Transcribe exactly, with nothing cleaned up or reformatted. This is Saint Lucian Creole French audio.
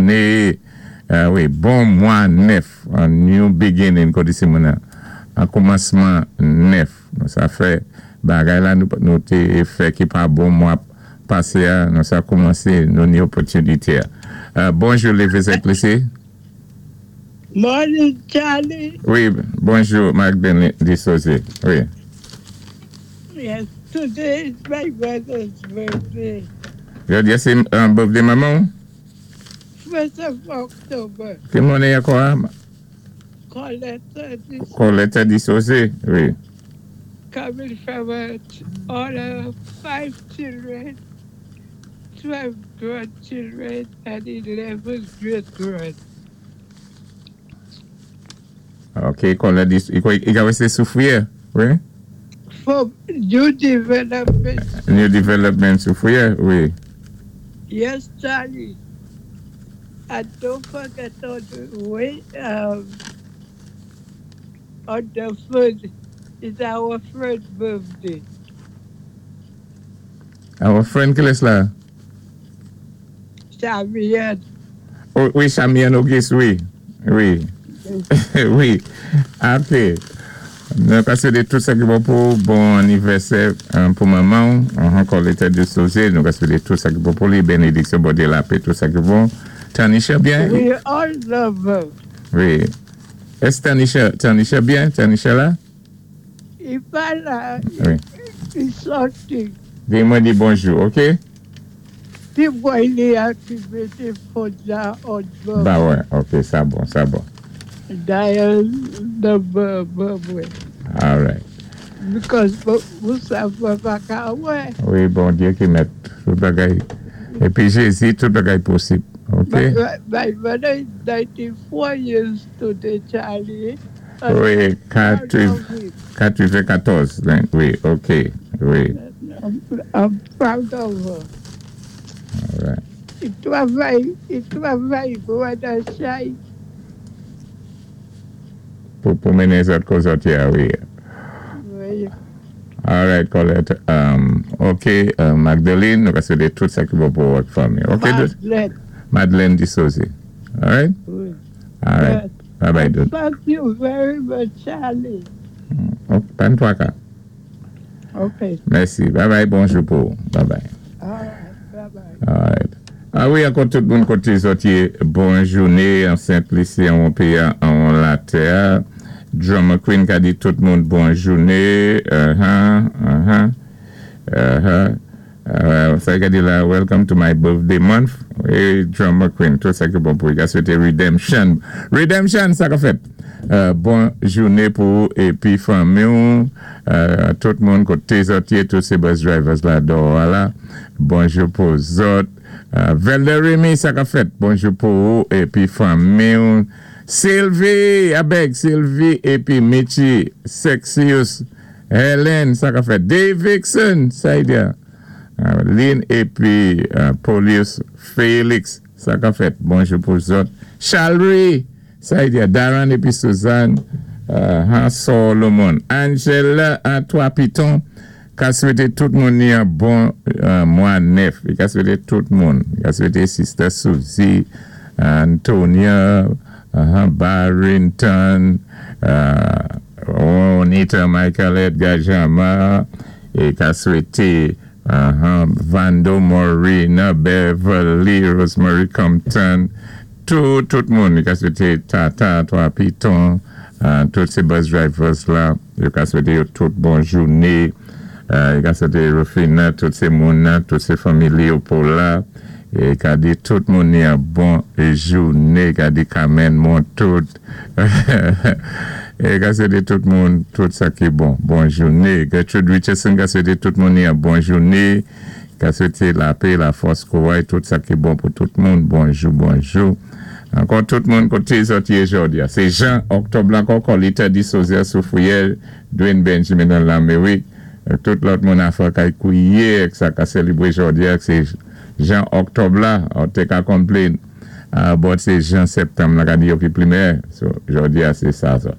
Jouné, euh, wi, bon mwa nèf, a new beginning, kon di sé moun an koumansman nèf. Nou sa fè, bagay la nou, nou té fè ki pa bon mwa pasé a, nou sa koumansé, nou ni opòtinité. Euh, bonjou, Lévé Saint-Lucie. Morning, Charlie. Wi, bonjou, Magdalene Dissosé. Wi. Yes, today is my mother's birthday. Jòdi a sé euh, birthday manman? First of October. Ki moun ankò? Coletta this Coletta Dissosé, wi. coming from uh, all her five children, twelve grandchildren, and eleven great grand. Ok, Coletta Dis, i ka wè sé Soufrière, wi? From New Development. New Development Soufrière, wi. Yes, Charlie. And don't forget on the way, um, on the third is our friend birthday. Our friend kilès la? Chamian. Oh, wi, Chamian Auguste, wi. Wi. Wi. Ok. Nou ka swété tout sa ki bon pou bon anivèsè euh, pou manman, ankò Coletta Dissosé, nou ka swété tout sa ki bon pou li, bénédiksyon, Bondyé, lapè, tout sa ki bon. Tanisha byen? We all love her. Wi. Èske Tanisha, Tanisha byen? Tanisha la? I pa la, Wi. i sòti. Di mwen di bonjou, ok? Ti boy li a ki mété phone la on Ba wè, ok, sa bon, sa bon. Dial number mwen. All right. Because mwen sa mwen pa ka wè. Wi, Bondyé ki mèt tout bagay. Épi Jézi, tout bagay posib. Ok? My, my mother is ninety-four years today, Charlie. Wi, katwennkatòz. Wi, ok. Wi. I'm, I'm proud of her. All right. I twavay, i twavay pou an chay. Pou, pou mennen zòt ko zòt ya, wi. Wi. All right, Colette. Um, ok, uh, Magdalene, nou ka swété tout sa ki bon pou wòt fanmi. Ok, Madeleine. Madeleine Dissosé. All right? Wi. All right. Yes. Bye bye, dude. Thank you very much, Charlie. Ok, pan twa ka. Okay. Mèsi. Bye bye, bonjou pou. Bye bye. All right. Bye bye. All right. A wi, ankò tout moun koté zòt yé, bon jouné an Saint-Lucie, an péyi an latè. Drummer Queen ka di tout moun bon jouné. Uh-huh, uh-huh, uh-huh. Uh, sa ka di la, welcome to my birthday month. Wi, Drummer Queen, tout sa ki bon pou. Ka swété redemption. Redemption, sa ka fèt. Euh, bon jouné pou épi fanmi ou, euh, tout moun koté zòt yé, tout sé bus drivers la dòwò la. Bonjou pou zòt. Euh, Velder Remy, sa ka fèt. Bonjou pou épi fanmi ou. Sylvie, abèk Sylvie épi Michi, Sexius, Helen, sa ka fèt. Dave Vixen, sa y di. Uh, Lynn épi uh, Polius Félix, sa ka fèt. Bonjou pou zòt. Chalry, sa y di. Darren épi Suzanne, uh, Han Solomon. Angela, Antoine Piton, ka swété tout moun ni an bon euh, mwa nèf. I ka swété tout moun. I ka swété Sister Suzy, Antonia, uh, Barrington, uh, Juanita, Michael Edgar Jama, é ka swété uh, Vando Morena, Beverly, Rosemary Compton, tout, tout moun. I ka swété Tata, Twa Piton, uh, tout sé bus drivers la. I ka swété yo tout bon jouné. Euh, i ka swété Rufina, tout sé moun nan, tout sé fanmi Léopold la. É ka di tout moun ni an bon jouné, ka di Carmen Montout. É ka swété tout moun, tout sa ki bon, bon jouné. Gertrude Richardson ka swété tout moun ni an bon jouné. Ka swété lapè, lafòs, kouway, tout sa ki bon pou tout moun. Bonjou, bonjou. Ankò tout moun koté zòt yé jòdi a. Sé jen òktòb la ankò, Coletta Dissosier Soufrière, Dwayne Benjamin nan Lamérik. Tout lòt moun afè kay kouye sa ka sélébwé jòdi a, sé jen òktòb la, ou té ka complain. Uh, but sé jen septanm la ka di yo ki pli meyè. So, jòdi a sé sa sa.